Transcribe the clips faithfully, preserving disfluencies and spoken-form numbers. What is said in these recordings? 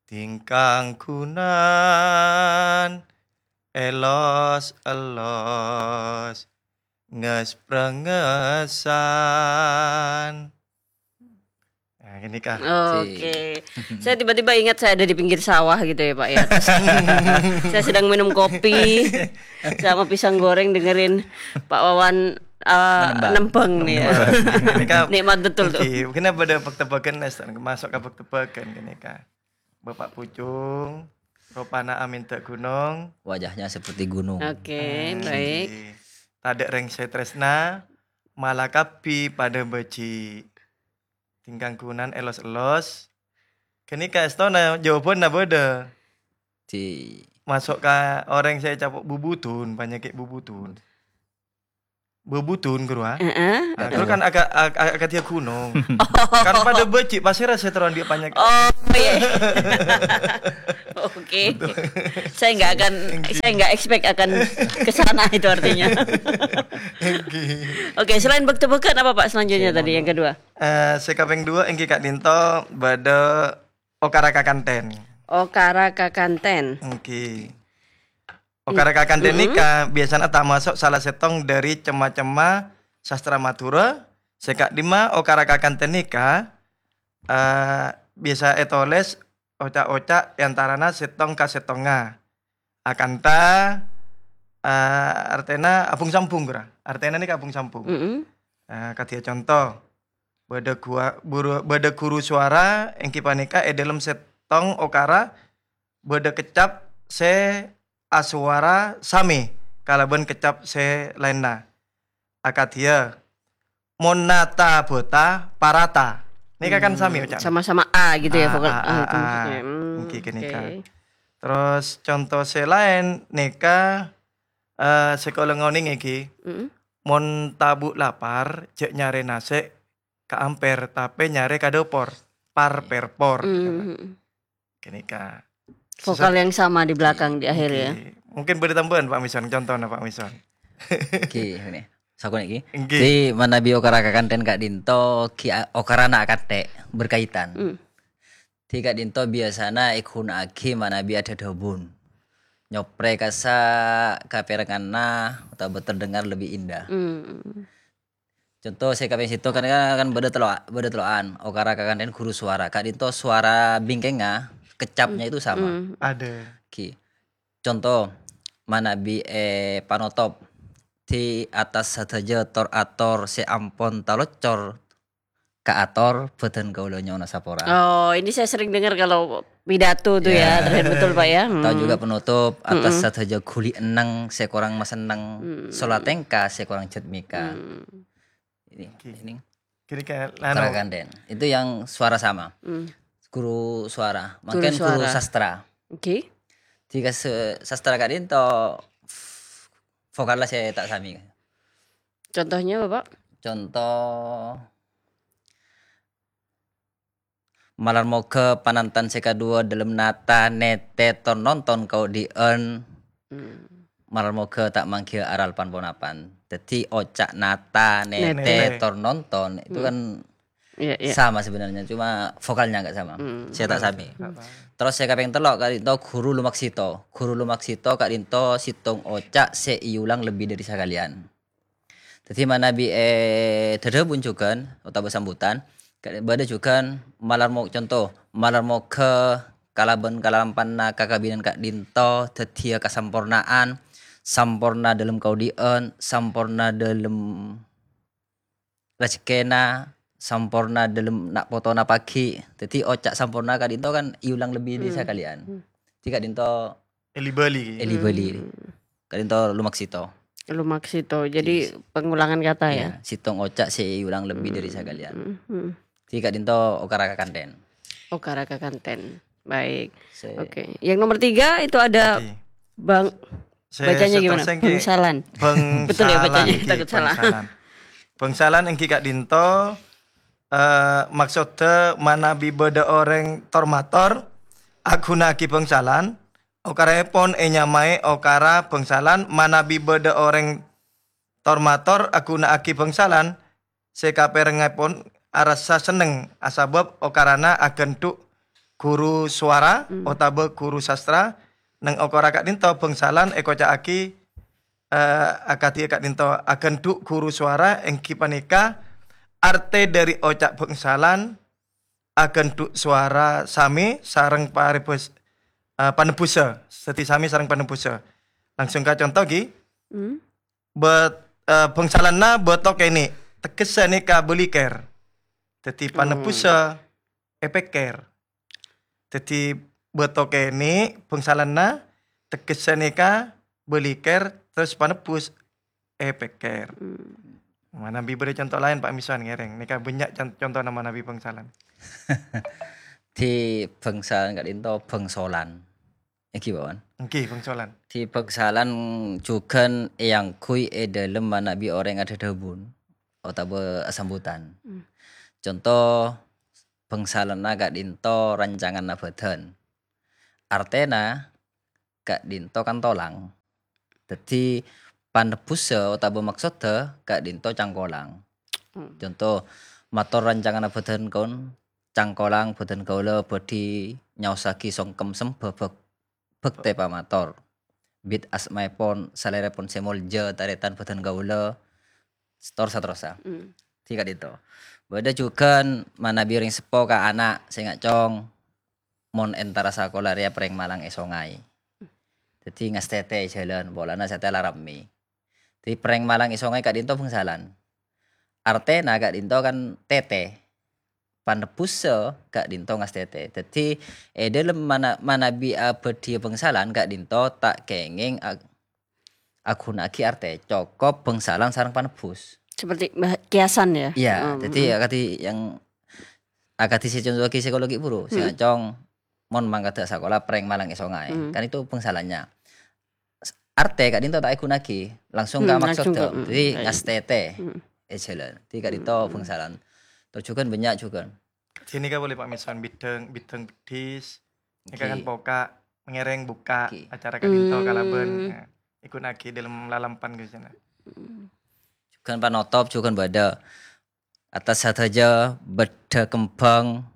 Tingkang gunan elos-elos, nges-prengesan. Nah, ini kah? Oke. Saya tiba-tiba ingat saya ada di pinggir sawah gitu ya, Pak, ya. Terus saya sedang minum kopi sama pisang goreng, dengerin Pak Wawan, eh, Menembang. Nembang nih ya. Ini kah? Nikmat betul tuh. Oke, mungkin ada tebak-tebakan, Nes, masuk ke tebak-tebakan ini kah? Bapak Pucung, ropana amènta gunong. Wajahnya seperti gunung. Oke, baik. Tadâ' rèng sè trèsna, mala kabbhi padâ bâji'. Tingkang gunan elos-elos. Ghânèka èstona jawabanna bâdâ. Di Masuk ka orèng sè ècapo' bubudun, panyakè' bubudun. Bubudun, Guru, ah. Heeh. Ah, Guru kan aga-, aga-, akadhi ghunong. Kan padâ bâji', pasèra sè terro andi' panyakè'? Oh, iya. Oke. Saya nggak akan, saya nggak expect akan ke sana itu artinya. Oke, selain bâk-tebâghân apa, Pak, selanjutnya tadi yang kedua? Eh, sè kapèng duwâ' èngghi ka'dinto bâdâ okara kakanten. Okara kakanten. Èngghi. Okara kakanten nèka biyasana tamaso' sala sèttong dhâri cem-macemma sastra Madhurâ. Sè ka'dimma okara kakanten nèka, eh, biyasa ètolès oca'-oca' è antarana sèttong ka sèttongnga. Akanta, eh, artèna abung-sambung, Guru. Artèna nèka abung-sambung. Mm-mm. Eh, kadhiyâ conto, bâdâ gua-, buru-, bâdâ ghuru suwara èngghi panèka è dhâlem sèttong okara bâdâ keccap sè asowara samè kalabân keccap sè laènna. Akadhiyâ, mon nata bhâta parata. Nèka kan samè oca'na. Sama-sama A gitu ya, vokal A itu maksudnya. Hmm, èngghi ghânèka. Oke. Terros conto sè laèn nèka, eh, sè kaulâ ngonèng èngghi, mon tabu' lapar, jhâ' nyarè nasè' ka amper, tapè nyarè ka dâpor. Par, per, por. Hmm. Ghânèka. Vokal yang sama di belakang, di akhir, ya. Oke. Mungkin bâdâ tambâhân, Pak Mison, contohna, Pak Mison. Oke, ini. Sakonè' iki. Èngghi. Di manabi okara kakanten ka'dinto, ki a-, okarana akantè', berkaitan. Hmm. Di ka'dinto biyasana èghuna'aghi manabi adhâdhâbun. Nyoprè kassa' kapèrengnganna otabâ terdengar lebih indah. Hmm. Conto sè kapèng sèttong kan, kan bâdâ tello', bâdâ tello'an, okara kakanten ghuru suwara. Ka'dinto suwara bingkèngnga, keccapnya itu sama. Hmm. Ada. Ghi. Conto, manabi è panotop, di attas sadhâjâ tor-ator sè ampon taloccor kaator, bhâdhân kaulâ nyo'ona sapora. Oh, ini saya sering dengar kalau pidato tuh ya, terlihat betul, Pak, ya. Atau juga penutup, attas sadhâjâ ghuli enneng sè korang masenneng, sola tèngka sè korang jhât mèka. Hmm. Ini, Oke. ini. Kira-kira, anu, Karakanten. Itu yang suara sama. Hmm. Guru suara. Guru Mungkin guru suara. sastra. Oke. Di kas-, sastra ka'dinto, vokalnya saya tak sami. Contohnya, Bapak? Contoh, Malar moghâ panantan sè kaduwâ dhâlem nata, nètè, tor nonton kaodi'ân. Hmm. Malar moghâ ta' manggiyâ aral pan-ponapan. Dhâddhi oca' nata, nètè, Nètè. tor nonton, itu Hmm. kan Iya, iya. sama sebenarnya, cuma vokalnya nggak sama. Hmm. Sè ta' sami. Hmm. Terros sè kapèng tello' ka'dinto ghuru lumaksita. Ghuru lumaksita ka'dinto sèttong oca' sè èulang lebbi dhâri sakalèyan. Dhâddhi manabi è dhâdhâbun jhughân otabâ sambutan, ka-, bâdâ jhughân malar mo-, conto, malar moghâ kalabân kalampanna kakabinan ka'dinto dhâddhiyâ kasamporna'an, samporna dhâlem kaodi'ân, samporna dhâlem rajhekkèna, samporna dhâlem na' potona paghi'. Dhâddhi oca' samporna ka'dinto kan èulang lebbi dhâri Hmm. sakalèyan. Hmm. Dhâddhi ka'dinto Eli-bali. Eli-bali. Hmm. Ka'dinto lumaksita. Lumaksita. Jadi Yes. pengulangan kata ya? Iya, sèttong oca' sè èulang lebbi dhâri Hmm. sakalèyan. Hmm. Dhâddhi ka'dinto okara kakanten. Okara kakanten. Baik. Sè- Oke. Yang nomor tiga itu ada Oke. Bang, Sè bacanya gimana? seterusnya nggih, Bangsalan. Betul ya bacanya? Bangsalan, Takut nggih, salah. Bangsalan. Bangsalan èngghi ka'dinto, eh, maksodda manabi bâdâ orèng tor-mator aghuna'aghi bangsalan, okaraèpon ènyamaè okara bangsalan, manabi bâdâ orèng tor-mator aghuna'aghi bangsalan, sè kapèrengngèpon arassa senneng asabâb okarana aghândhu' guru suara Hmm. otabâ guru sastra, neng okora ka'dinto bhângsalan èkoca'aghi, eh, akadhi ka'dinto aghândhu' guru suara èngghi panèka artè dhâri oca' bhângsalan aghândhu' suara samè sareng parebus-, eh, panebbhussa. Dhâddhi samè sareng panebbhussa. Langsung ka conto, ghi. Hmm. Bet-, eh, bhângsalanna bâto kènè', teggessa nèka bâlikèr. Dhâddhi Oh. panebbhussa èpèkkèr. Dhâddhi bâto kènè' bhângsalanna teggessa nèka bâlikèr, terros panebbhus èpèkkèr. Hmm. Manabi bâdâ conto laèn, Pak Miswan ngèrèng. Nèka bânnya' con-, contona manabi bhângsalan. Di bhângsalan ka'dinto bhângsolan. Èngghi, Pak Wan? Èngghi, bhângsolan. Di bhângsalan jhughân èangghuy è dhâlem manabi orèng adhâdhâbun otabâ asambutan. Hmm. Conto, bhângsalanna ka'dinto rancanganna bhâdhân. Artèna ka'dinto kan tolang. Dhâddhi, panebbhussa otabâ maksodda ka'dinto cangkolang. Hmm. Conto, mator rancanganna bhâdhân kon, cangkolang bhâdhân kaulâ bhâdhi nyaossaghi songkem sembhâ bhâk-, bhâktè pamator. Bit asmaèpon, salèrèpon sè molja, tarètan bhâdhân kaulâ, tor saterrossa. Hmm. Di ka'dinto. Bâdâ jhughân manabi orèng seppo ka ana' sè ngacong, mon entara sakola rèya prèng malang è songay. Dhâddhi ngastètè è jhâlân, polana satèya la rammè. Dhâddhi prèng malang è songay ka'dinto bhângsalan. Artèna ka'dinto kan tètè. Panebbhussa ka'dinto ngastètè. Dhâddhi è dhâlem mana-, manabi abâdhiyâ bhângsalan ka'dinto ta' kèngèng ag-, aghuna'aghi artè, cokop bhângsalan sareng panebbhus. Seperti bah-, kiasan ya? Iya, Hmm, jadi hmm. akadhi yang, akadhi sè conto'aghi psikologi buru, sè Hmm. ngacong, mon mangkada sakola prèng malang è songay. Hmm. Kan itu bhângsalannya. S-, artè ka'dinto ta' èghuna'aghi, langsung ka Hmm, langsung maksodda. ke, hmm, Jadi baik. ngastètè Hmm. è jhâlân. Jadi ka'dinto Hmm. bhângsalan. Terus jhughân bânnya' jhughân. Sini ka boleh Pak Misan bidhâng, bidhâng peddhis. Nèka kan Oke. poka', ngèrèng buka Oke. acara ka'dinto Hmm. kalabân. Nah, èghuna'aghi dhâlem lalampan ka sana. Hmm. Jhughân panotop, jhughân bâdâ. Atas sadhâjâ bâdâ kembhâng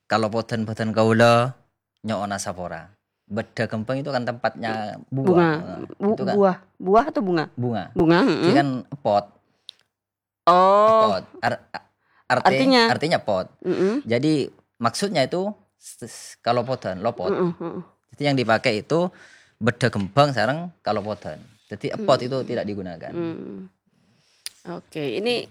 kalopodhân bhâdhân kaulâ nyo'ona sapora. Bâdâ kembhâng itu kan tempatnya buah. Bunga. Nah, Bu-, itu kan buah. Buah atau bunga? Bunga. Bunga, Jadi mm-mm. kan epot. Oh. Epot. Ar-, a-, arti-, Artinya? artinya pot. Mm-mm. Jadi maksudnya itu s-, s-, kalopodhân, lopot. Mm-mm, mm-mm. Jadi yang dipakai itu bâdâ kembhâng sareng kalopodhân. Jadi epot Mm. itu tidak digunakan. Mm. Oke, ini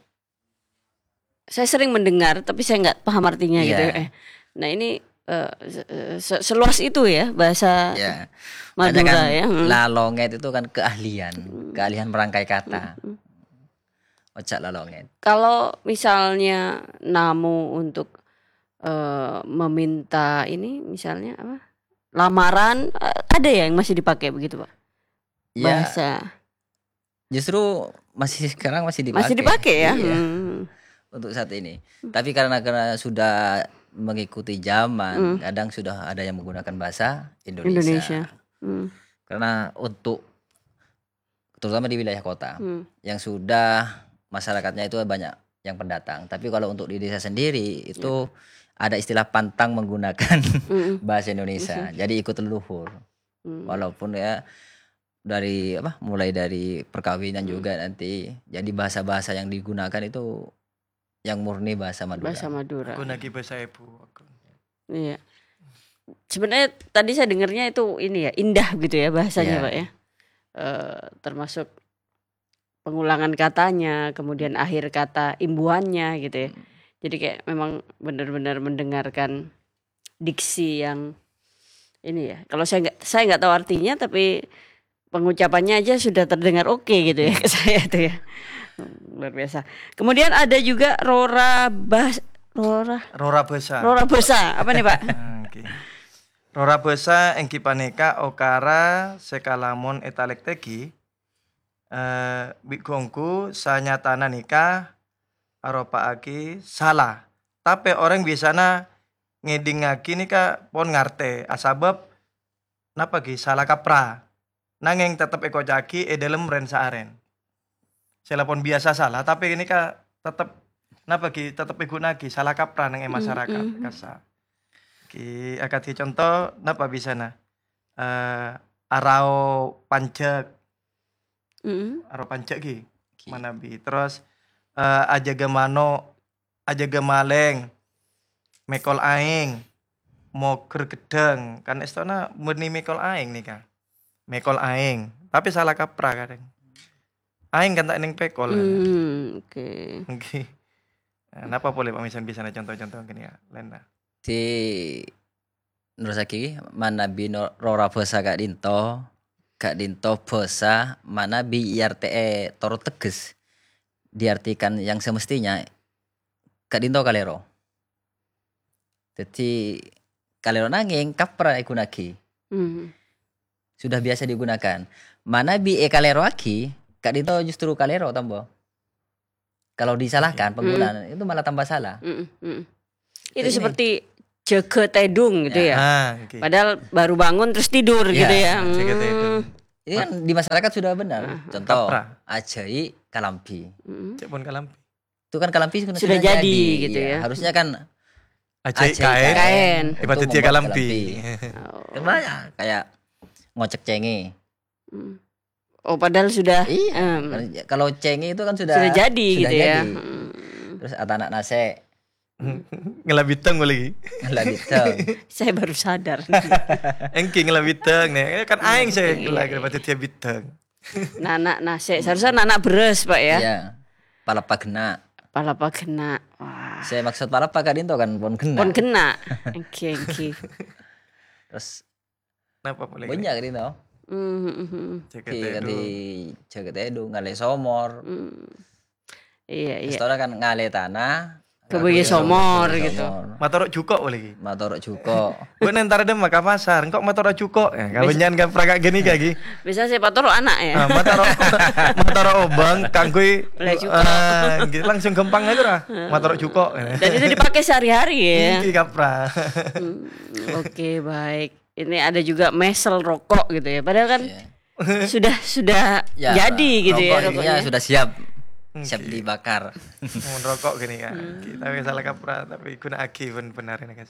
saya sering mendengar, tapi saya nggak paham artinya gitu Iya. ya. Eh, nah, ini, eh, se-, se-, seluas itu ya bahasa Iya. Madura Makanya kan ya. Hmm. lalongèt itu kan keahlian, Hmm. keahlian merangkai kata. Hmm, hmm. Oca' lalongèt. Kalau misalnya namu untuk, eh, meminta ini, misalnya apa? Lamaran, eh, ada ya yang masih dipakai begitu, Pak? Ya. Bahasa. Justru masih sekarang masih Masih dipakai. dipakai ya? Iya. Hmm. Untuk saat ini. Hmm. Tapi karena, karena sudah mengikuti zaman, Hmm. kadang sudah ada yang menggunakan bahasa Indonesia. Indonesia. Hmm. Karena untuk, terutama di wilayah kota, Hmm. yang sudah masyarakatnya itu banyak yang pendatang. Tapi kalau untuk di desa sendiri, itu Ya. ada istilah pantang menggunakan Mm-mm. bahasa Indonesia. Mm-hmm. Jadi ikut leluhur. Hmm. Walaupun ya dari apa, mulai dari perkawinan Hmm. juga nanti. Jadi bahasa-bahasa yang digunakan itu yang murni bahasa Madura. Bahasa Madura. Aku lagi bahasa ibu aku. Iya. Sebenarnya tadi saya dengarnya itu ini ya, indah gitu ya bahasanya, Iya. Pak ya. Eh, termasuk pengulangan katanya, kemudian akhir kata imbuhannya gitu ya. Hmm. Jadi kayak memang benar-benar mendengarkan diksi yang ini ya. Kalau saya nggak, saya nggak tahu artinya, tapi pengucapannya aja sudah terdengar oke gitu ya ke saya itu ya. Luar biasa. Kemudian ada juga rora bas-, rora Rora basa. Rora basa. Apa nih, Pak? Oke. Rora basa èngghi panèka okara sè kalamon ètalèktèghi, eh, bi' ghu-ongghu sanyatana nèka aropa'aghi sala. Tapè orèng biasana ngèdingngaghi nèka pon ngartè, asabâb napa ghi sala kaprah. Nangèng teptep èkoca'aghi è dhâlem rèn-saarèn. Sè la pon biyasa sala, tapè nèka teptep, napa ghi, teptep èghuna'aghi sala kaprah neng è Mm, masarakat, mm. kassa'. Ghi, akadhi conto napa bisana? Eh, arao panjhâk. Mm-mm. Arao panjhâk ghi. Ghi. Manabi. Terros, eh, ajâgâ mano', ajâgâ malèng, mèkol aèng, mogher ghedhâng. Kan èstona bânnè mèkol aèng nèka. Mèkol aèng, tapè sala kaprah kadhâng. Aèng kan ta' neng pèkol, kan? Hmm, oke. Ngghi. Nah, napa polè, Pak Misan, bisana conto-conto ghânèka, Lena? Di-, nerrossaghi, manabi no-, rora bhâsa ka'dinto, ka'dinto bhâsa manabi èartè'è toro' tegges, diartikan yang semestinya, ka'dinto kalèro. Dhâddhi, kalèro nangèng kaprah èghunaaghi. Hmm. Sudah biasa digunakan. Manabi èkalèroaghi, ka'dinto justru kalèro tambâ. Kalau disalahkan, hmm, penggunaan, itu malah tambah salah. Mm-mm, mm-mm. Itu ini seperti jâgâ tèdung gitu ya. Ah, oke. Padahal baru bangun terus tidur gitu ya. Jâgâ tèdung. Hmm. Ini kan di masyarakat sudah benar. Ah. Contoh, kaprah. Ajhâi kalambhi. Mm-mm. Cek pon kalambhi. Itu kan kalambhi sudah, sudah jadi, jadi, gitu ya. Harusnya kan ajhâi ajhâi kaèn. Kaèn. Itu membuat kalambhi. Kaèn. Oh. Kan banyak, kayak ngocek cengè. Hmm. Oh, padahal sudah, iya, em, kan, kalau cengè itu kan sudah, sudah jadi sudah gitu ya. Jadi. Hmm. Terus atana' nasè'. Ngala biteng lagi. Ngala biteng. Saya baru sadar. Èngghi ngala biteng nè. Kan aèng saya lagi dapat dia biteng. Nana' nasè'. Seharusnya nana' beras, Pak, ya? Iya. Palèppa ghenna'. Palèppa ghenna'. Wah. Saya maksud palèppa ka'dinto kan pon ghenna'. Pon ghenna'. Èngghi, èngghi. Terus napa polè? Banyak ka'dinto. Hmm, hmm, hmm. Jâgâ tèdung. Jâgâ tèdung, ngalè somor. Hmm. Iya, iya. Èstona kan ngalè tana, ghâbây somor gitu. Somor. Matoro' jhuko' polè ghi. Matoro' jhuko'. Gue nentara dem ka pasar, engko' matoro' jhuko'. Ya, kabânnya'an kan praka ghânèka ghi. Bisa sih patoro' ana' ya. Ah, matoro', matoro' obâng, kangghuy, beli jhuko'. Ah, gitu. Langsung ghâmpang aja lah. Matoro' jhuko'. Dan itu dipakai sehari-hari ya. Ini kaprah. Hmm, oke, baik. Ini ada juga mesel rokok gitu ya. Padahal kan, iya, sudah, sudah jadi gitu ya rokoknya, rokoknya sudah siap. Siap dibakar. Mon rokok ghânèka. Hmm. Tapè sala kaprah, tapè ghuna'aghi bân-bhender nèka.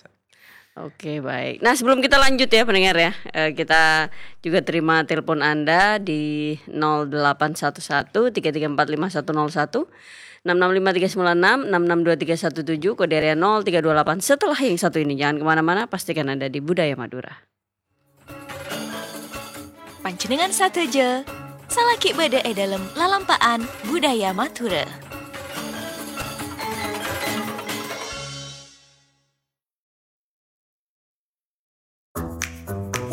Oke, baik. Nah, sebelum kita lanjut ya, pendengar ya, eh, kita juga terima telepon Anda di nol delapan satu satu tiga tiga empat lima satu nol satu, enam enam lima tiga sembilan enam, enam enam dua tiga satu tujuh, kode area nol tiga dua delapan. Setelah yang satu ini, jangan kemana-mana, pastikan Anda di Budaya Madura. Panjhennengngan sadhâjâ, salaghi bâdâ è dâlem lalampa'an Budaya Madhurâ.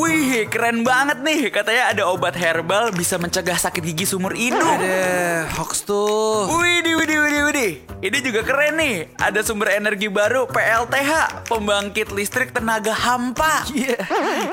Wih, keren banget nih. Katanya ada obat herbal bisa mencegah sakit gigi seumur hidup. Ada hoax tuh. Widih, widih, widih, widih. Ini juga keren nih. Ada sumber energi baru, P L T H, pembangkit listrik tenaga hampa. Iya,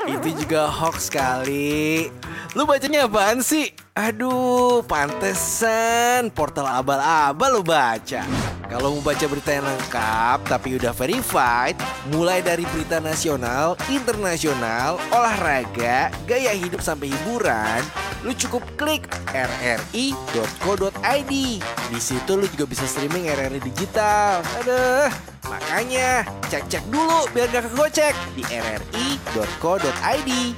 itu juga hoax kali. Lu bacanya apaan sih? Aduh, pantesan portal abal-abal lu baca. Kalau mau baca berita yang lengkap tapi udah verified, mulai dari berita nasional, internasional, olahraga, gaya hidup sampai hiburan, lu cukup klik R R I dot co dot I D. Di situ lu juga bisa streaming R R I digital. Aduh, makanya cek-cek dulu biar gak kegocek di R R I dot co dot I D.